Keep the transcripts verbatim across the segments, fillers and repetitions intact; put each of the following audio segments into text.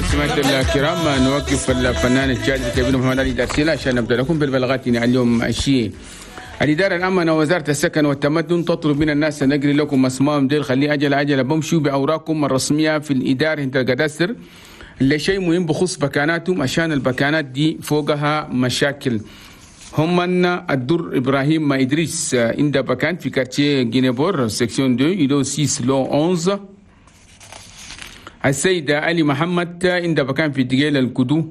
سمعت الكرام، نوقف الفنان الشاعر الكبير محمد علي دارسيلا عشان نبدا لكم بالبلاغات اليوم الشيء. الإدارة العامة ووزارة السكن والتمدن تطلب من الناس أن نقري لكم أسمائهم ديل، خليه أجل أجل بمشوا بأوراقكم الرسمية في الإدارة عند الكادستر. اللي شيء مهم بخص بكاناتهم عشان البكانات دي فوقها مشاكل. هم من الدر إبراهيم ما إدريس عند بكان في quartier Guinée-Port section اثنين îlot ستة lot أحد عشر. السيد علي محمد عند بكان في دجيل الكدو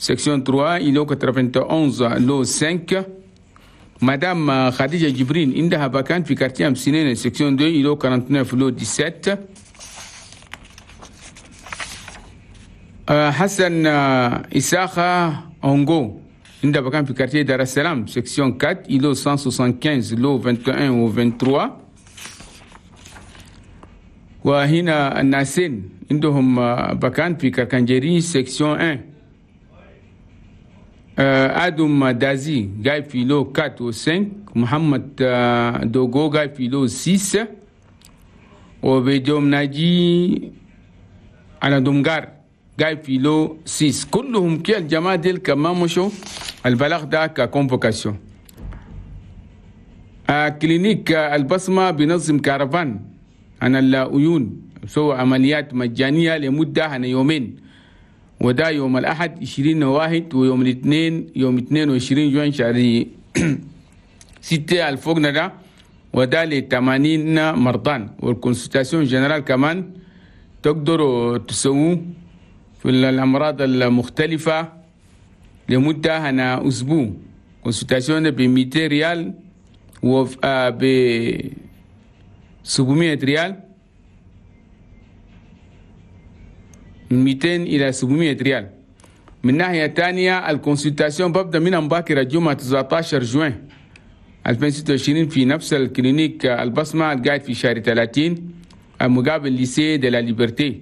section ثلاثة îlot واحد وثمانين lot خمسة. مدام خديجة جبرين عندها بكان في quartier أمسنين section اثنين îlot تسعة وأربعين lot سبعة عشر. حسن إساخة أونغو عندها بكان في quartier دار السلام section أربعة îlot مية وخمسة وستين lot واحد وعشرين و ثلاثة وعشرين. وهنا الناسين عندهم بكان في كركنجري section واحد. آدم دازي جاي في lot أربعة و خمسة. محمد دوغو جاي في lot ستة. وبيدوم ناجي على دومغار جاي في lot ستة. كلهم كي الجماعة ديل كمان مشوا البلاغ ده ك convocation. clinique البصمة بنظم كارفان عن العيون سوى عمليات مجانية لمدة عن يومين، وده يوم الأحد عشرين واحد ويوم الاثنين يوم اثنين وعشرين جوان شهر ستة الفوقنا ده، وده ل ثمانين مرضان. وال consultation générale كمان تقدروا تسووا في الأمراض المختلفة لمدة هنا أسبوع. consultation ب مئتين ريال و ب سبعمائة ريال، من مئتين إلى سبعمائة ريال. من ناحية تانية ال consultation ببدأ من مباكر الجمعة تسعة عشر جوان ألفين وستة وعشرين في نفس ال clinique البصمة القاعد في شهر ثلاثين مقابل lycée de la Liberté.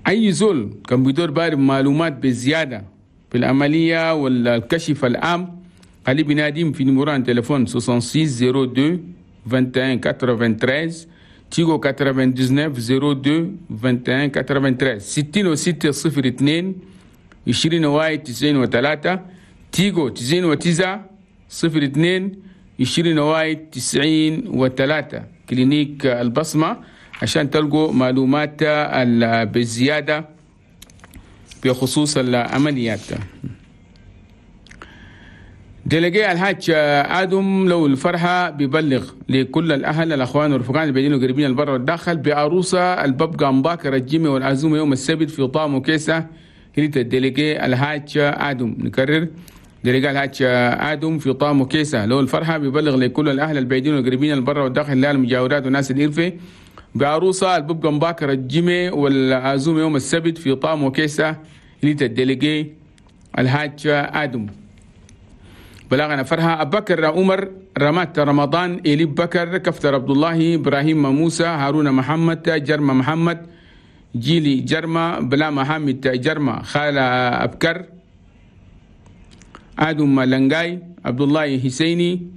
أي زول كان بيدور بارب معلومات بزيادة في العملية والكشف العام خلي بناديم في numéro تليفون ستة وستين صفر اثنين واحد وعشرين ثمانية وتسعين تيغو تسعة وتسعين صفر اثنين واحد وعشرين ثمانية وتسعين ستين وستة صفر اثنين عشرين واحد تسعين وثلاثة تيغو تسعين وتسعة صفر اثنين عشرين واحد تسعين وثلاثة. clinique البصمة عشان تلقوا معلومات بزيادة بخصوص العمليات. délégué الحاج آدم لو الفرحة بيبلغ لكل الأهل الأخوان والرفقان اللي بيدينوا قريبين البر والداخل بعروسة الببقى مباكر الجيمي والعزومة يوم السبت في طام وكيسة هلت ال délégué الحاج آدم. نكرر délégué الحاج آدم في طام وكيسة لو الفرحة بيبلغ لكل الأهل البعيدين والقريبين البر والداخل لا المجاورات والناس الإرفة بعروسة الببقى مباكر الجيمي والعزومة يوم السبت في طام وكيسة هلت ال délégué الحاج آدم. بلغنا فرحة أبكر عمر رمات رمضان إلي بكر كفتر عبد الله إبراهيم موسى هارون محمد جرمة محمد جيلي جرمة بلا محمد جرمة خالة أبكر آدم لنجاي عبد الله حسيني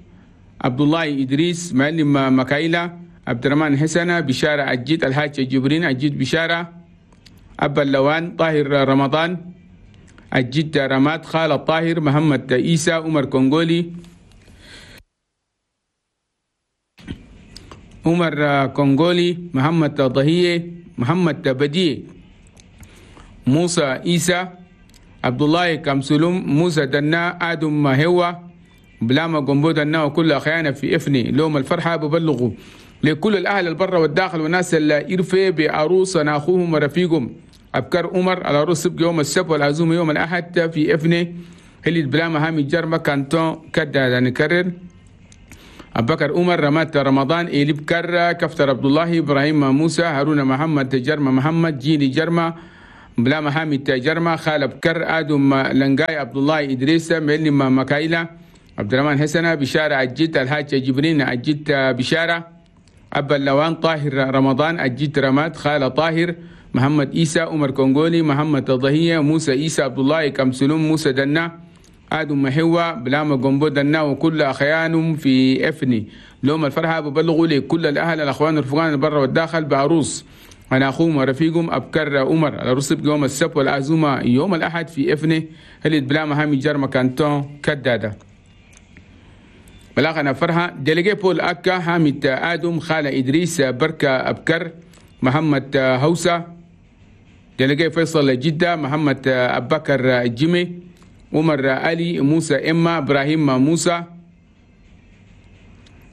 عبد الله إدريس معلم مكايلة عبد الرحمن حسنة بشارة أجيد الحاج جبرين أجيد بشارة أبا اللوان طاهر رمضان الجد رماد خالد طاهر محمد عيسى عمر كونغولي عمر كونغولي محمد ضهية محمد بديه موسى عيسى عبد الله كمسلوم موسى دنا آدم هوا بلاما قنبو دنا وكل أخيانا في إفني لوم الفرحة ببلغوا لكل الأهل البر والداخل والناس اللي إرفي بعروسنا أخوهم ورفيقهم أبكر عمر على عروس سبق يوم السبت والعزومة يوم الأحد في إفني هلي بلاما هامي جرمة كانتون كدا نكرر أبكر عمر رمات رمضان إلي بكر كفتر عبد الله إبراهيم موسى هارون محمد جرمة محمد جيلي جرمة بلا محامد جرمة خالد بكر آدم لنجاي عبد الله إدريس معلم مكايلة عبد الرحمن حسنة بشارة أجيت الحاج جبرين أجيت بشارة أبا اللوان طاهر رمضان أجيت رماد خالد طاهر محمد إيسى عمر كونغولي محمد ضهية موسى إيسى عبد الله كمسلوم موسى دنا آدم محوة بلاما قنبو دنا وكل أخيانهم في إفني لوم الفرحة ببلغوا لكل الأهل الأخوان الرفقان البر والداخل بعروس أنا أخوهم ورفيقهم أبكر عمر. العروس يوم السبت والعزومة يوم الأحد في إفني هلت بلا مهامي جرمة كانتون كدادة. بلاغنا فرحة délégué بول أكا حامد آدم خالة إدريس بركة أبكر محمد هوسة. délégué فيصل جدة محمد أبكر جيمي عمر علي موسى إما إبراهيم موسى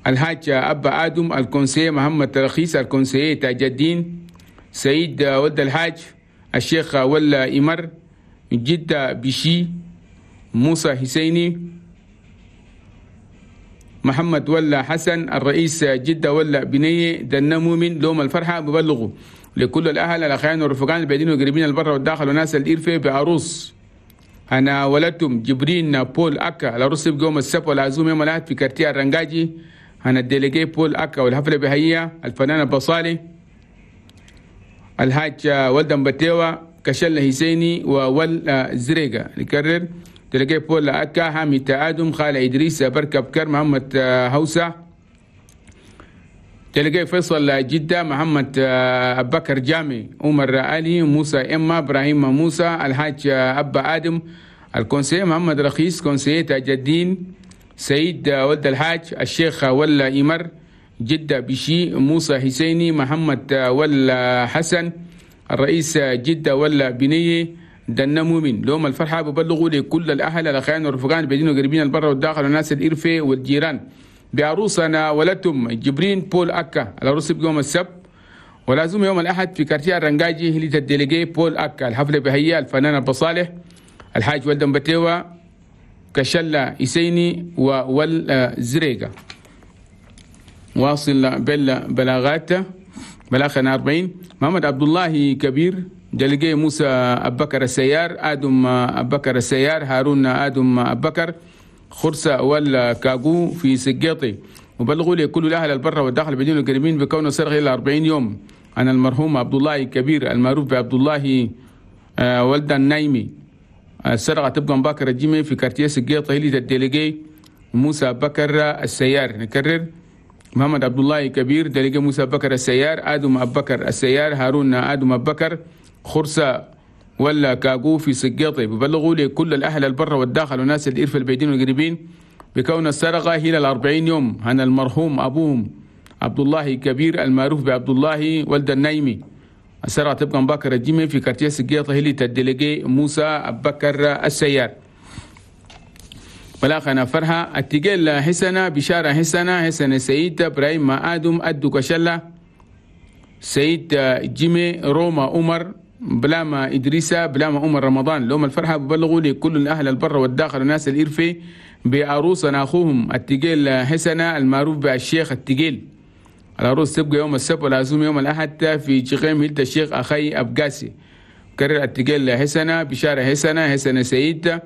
الحاج أبا آدم ال conseiller محمد رخيص ال conseiller تاج الدين سيد ود الحاج الشيخ ولا إمر جدة بشي موسى حسيني محمد ولا حسن الرئيس جدة ولا بنية دنا مؤمن. لوم الفرحة ببلغوا لكل الأهل الأخيان والرفقان البعيدين والقريبين البر والداخل وناس الإرفة بعروس أنا ولدتم جبرين بول أكا. العروس يوم السبت والعزوم يوم الأحد في quartier الرنجاجي. أنا ال délégué بول أكا والحفلة بهية الفنان البصالي الحاج ولدن بتيوة كشل حسيني وول زريقة. نكرر délégué بول أكا حامد آدم خالة إدريس بركة بكر محمد هوسة. délégué فيصل جدة محمد أبكر جامي عمر علي موسى إما إبراهيم موسى الحاج أبا آدم ال conseiller محمد رخيص conseiller تاج الدين سيد ولد الحاج الشيخ ولا إمر جدة بشي موسى حسيني محمد ولا حسن الرئيس جدة ولا بنية دنا مؤمن. لوم الفرحة ببلغوا لكل الأهل الأخيان والرفقان البعيدين والقريبين البر والداخل والناس الإرفة والجيران بعروسنا ولدتم جبرين بول أكا. العروس بيوم السبت ولازم يوم الأحد في quartier الرنجاجي هليت ال délégué بول أكا. الحفلة بهية الفنان البصالح الحاج ولدن بتيوة كشلة إسيني وول زريقة. واصل بالبلاغات بلاغنا أربعين محمد عبد الله كبير délégué موسى أبكر السيار آدم أبكر السيار هارون آدم أبكر خرسة ولا كاغو في سجيطي. وبلغوا لكل الأهل البر والداخل بدون القريبين بكونه سرغ إلى أربعين يوم عن المرحوم عبد الله كبير المعروف بعبد الله ولد النايمي. السرقة تبقى مباكر الجيمي في quartier سجيطة هلي ال délégué موسى بكر السيار. نكرر محمد عبد الله كبير délégué موسى بكر السيار آدم أبكر السيار هارون آدم أبكر خرسة ولا كاغو في سجيطي. ببلغوا لكل الأهل البر والداخل وناس الإرفة البعيدين والقريبين بكون السرقة هي الأربعين يوم عن المرحوم أبوهم عبد الله كبير المعروف بعبد الله ولد النايمي. السرقة تبقى مباكر الجيمي في quartier سجيطة هلي ال délégué موسى أبكر السيار. بلاغنا فرحة التقل حسنة بشارة حسنة حسنة سيد إبراهيم آدم أدو كشلة سيد جيمي روما عمر بلاما إدريسة بلاما عمر رمضان. لهم الفرحة ببلغوا لكل الأهل البر والداخل والناس الإرفي بعروسنا أخوهم التقيل حسنة المعروف بالشيخ التقيل. العروس تبقى يوم السبت والعزوم يوم الأحد في جغيم هلت الشيخ أخي أبقاسي. كرر التقيل حسنة بشارة حسنة حسنة سيد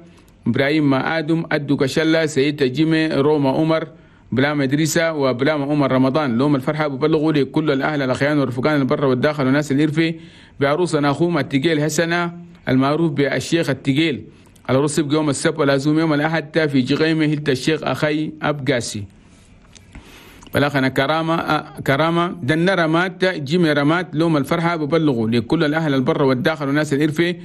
إبراهيم آدم أدو كشلة سيد جيمي روما عمر بلاما إدريسة وبلاما عمر رمضان. لهم الفرحة ببلغوا لكل الأهل الأخيان والرفقان البر والداخل والناس الإرفي بعروسنا أخوهم التقيل حسنة المعروف بالشيخ التقيل. العروس يبقى يوم السبت والعزوم يوم الأحد في جغيمة هلت الشيخ أخي أبقاسي. بلاغنا كرامة كرامة دنا رمات جيمي رمات. لهم الفرحة ببلغوا لكل الأهل البر والداخل والناس الإرفي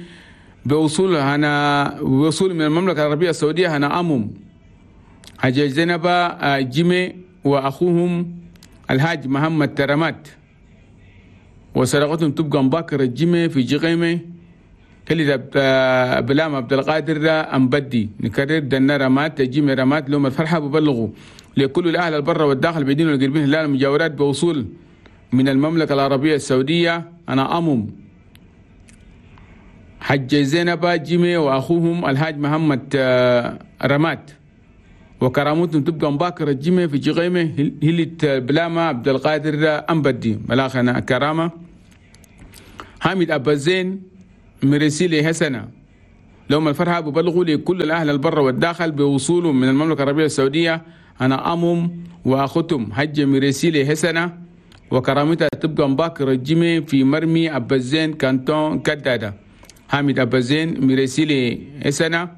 بوصول هنا بوصول من المملكة العربية السعودية هنا أمم حجاج زينب جيمي وأخوهم الحاج محمد ترمات وسرقتهم تبقى مباكر الجيمي في جغيمة كل بلام عبد القادر أمبدي. نكرر دنا رمات جيمي رمات. لهم الفرحة ببلغوا لكل الأهل البر والداخل بيدين والقربين هلال المجاورات بوصول من المملكة العربية السعودية أنا أمم حج زينب جيمي وأخوهم الحاج محمد رمات وكرامتهم تبقى مباكر الجيمي في جغيمة هلت بلامة عبد القادر أمبدي. ملاخنا كرامة حامد أبا زين مرسيلي حسنة. لهم الفرحة ببلغوا لكل الأهل البر والداخل بوصولهم من المملكة العربية السعودية أنا أمم وأختم حج مرسيلي حسنة وكرامتها تبقى مباكر الجيمي في مرمي أبا زين كانتون كدادة. حامد أبا زين مرسيلي حسنة